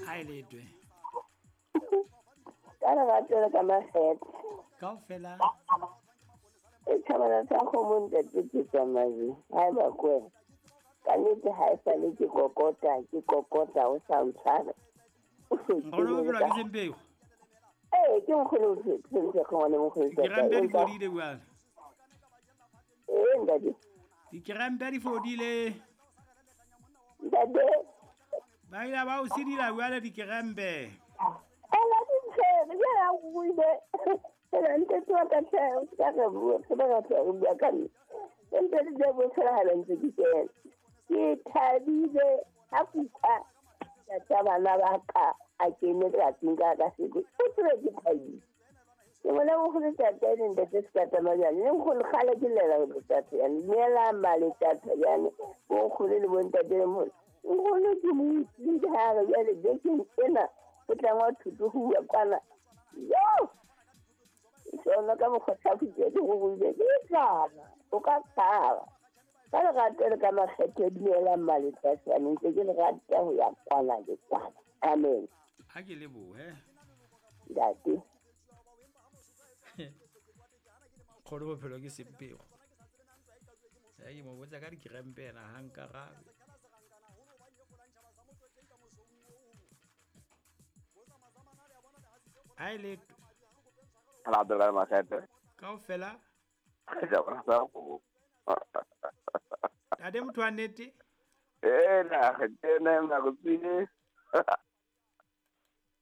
Ha e letwe. Ka lerato le ka makgethe. Kaofela. E tjhabana tsa kgomo ntate ke tsamai. Ha e ba kwena. Ka nnete ha e sale ke kokota, ke kokota o sa ntshware. Nkgono bophelo ke sempeo. Ee, ke nkgono bophelo le nkgono. Dikerempe di fodile bjale. Ee, ntate. Dikerempe di fodile. Ntate. Ba ile ba o sidila bjale dikerempe. Ela di tshwere, jwale ha o buile. Ela ntate wa ka tlhe, o ska re bua, se ba ka tlhe re bua ka nna. Empa le ja bo tshwara ha ntse ke kena. Ke thabile ha kuka tata bana ba ka a kene tsatsing ka ka seko. O tsebe ke thabile. Ke bona nkgono tata le ntate se ka tsamaya jane. Le nkgono kgale ke llela ho tata yane. Neela male tata yane. Bo nkgono le bo ntate le mona. Nkgono ke mo utlwile ha re jwale bekeng ena o tla ngwa thuto ho bua kwana. Yo! Sona ka mokgwa thapo ke go buile ke tlala. O ka tshaba. Ka lerato le ka makgethe dumelang maletlasane ntse ke le rata ho ya kwana le kwana. Amen. Ha ke lebohe. Ntate. Nkgono bophelo ke sempego. Ya ke mo botsa ka dikerempe ena ha nkarabe. Ha e letwe. Lerato le makgethe. Kaofela. Ke Tate motho wa nnete. Ee, na ke na nako tsile.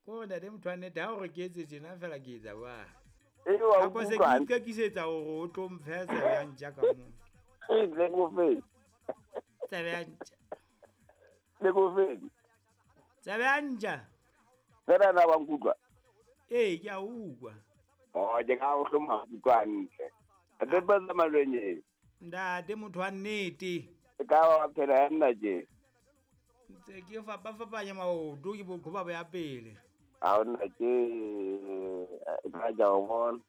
Ko ntate motho wa nnete ha o re ke etse tjena fela ke etsa jwang. E wa Kapo se ke ikekisetsa hore o tlo mphe tsebe ya ntja ka moo. E le go fe. Tsebe ya ntja. Le go fe. Tsebe ya ntja. Fela na wa nkutlwa. Ee, ke a utlwa. Oh, ke ka o hloma utlwa hantle. Tate ba tsamalwenye. Ntate motho wa nnete. E ka wa phela ya nna je. Ntse ke fapafapanya maoto ke bokgoba bo ya pele. Ha ona ke ka ja o bona.